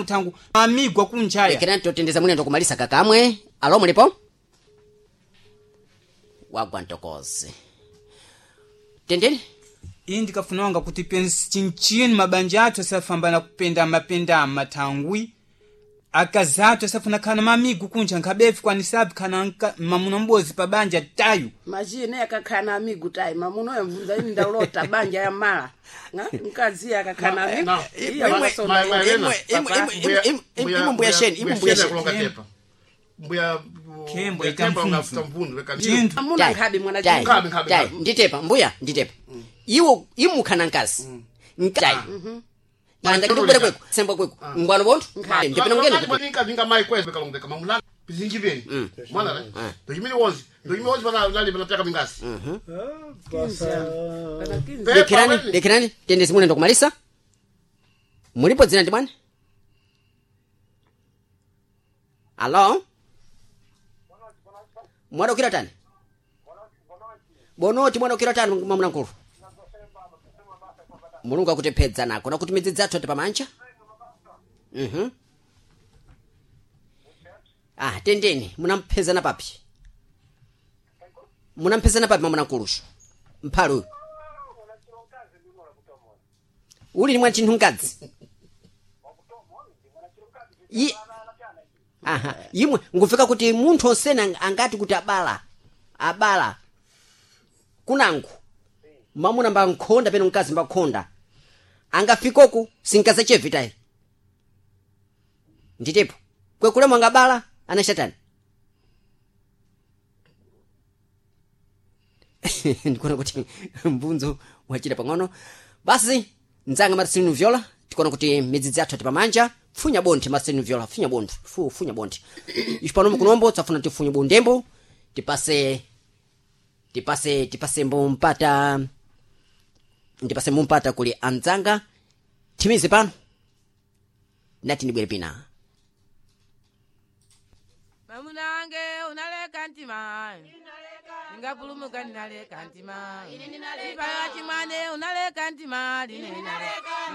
Thangu amigwa kunjaya. Lekerani totendeza mwine ndokumalisa kakamwe. Alo, mulipo? Wagwa ntokozi. Tendeni. Iyi ndikafunanga kuti pensi chinchini mabanja athu asafambana kupendama pendama thangwi akazi athu asafuna khana mamigu kunja nkhabefu kwanisapi khana mamuna m'bozi pa banja tayu. Machine akakhana amigu tayi mamunoyo mvunza ini ndaulota banja ya mala. Nga? Mkazi akakhana amigu. No. Iya wakasona Ma- iye. Elena, Papa. Imwe mbuya sheni, imwe mbuya sheni. kulonga tepa. Mbuya Khembo mbuya ita Khembo mfunzu. ungafuta mvundu leka Chinthu. Amuna Tai, nkhabe mwana tai, chinthu. Nkhabe, nkhabe, tai, nkhabe. nditepa mbuya nditepa. Iwo imukhana nkazi. Nkazi. Anda kitubwera kweko, semba kweko. Ngwano bonthu. Ndipena mngene. Ninga vinga mai kwezi kalonga kama mulala bizinji beni. Mwana le. Ndojimini wonzi. Ndojimini wonzi bana nali bana pyaka mingasi. Pana 15. Pepa Lekerani, weni. lekerani, tendezi mune ndokumalisa. Mulipo dzina ndi bwana? Alo? Mwana ukira tani? Bonoti mwana ukira tani mwamuna nkulu. Mulungu akutepedza nako nakuti midzi dzathu ati pamanja. Ah, tendeni, munamphezana papi? Munamphezana papi mwamuna nkulusho? Mphalo uyu. Uli ni mwa chinthu mkadzi. Aha, imwe ngufika kuti munthu osena angati kuti abala abala kunangu mamuna mba nkhonda peno mkazi mba khonda angafikoku sinkazachevitayi nditepo kwekulemo angabala anachatani. Ndikuona kuti mbunzo wachita pang'ono. Basi mdzanga Marcelino Viola, tikuona kuti midzidzi athu ati pamanja. Funya bonthe Marcelino Viola, funya bonthe, funya bonthe. Ife pano mukunombo tsafuna tifunye bondembo tipase tipase tipase mbumpata ndipase mumpata kuli andzanga timize pano nati ndibwere pina. Mamuna wange unaleka ntima, ningapulumuka ninaleka ntima, ipaya chimwane unaleka ntima, line ninaleka.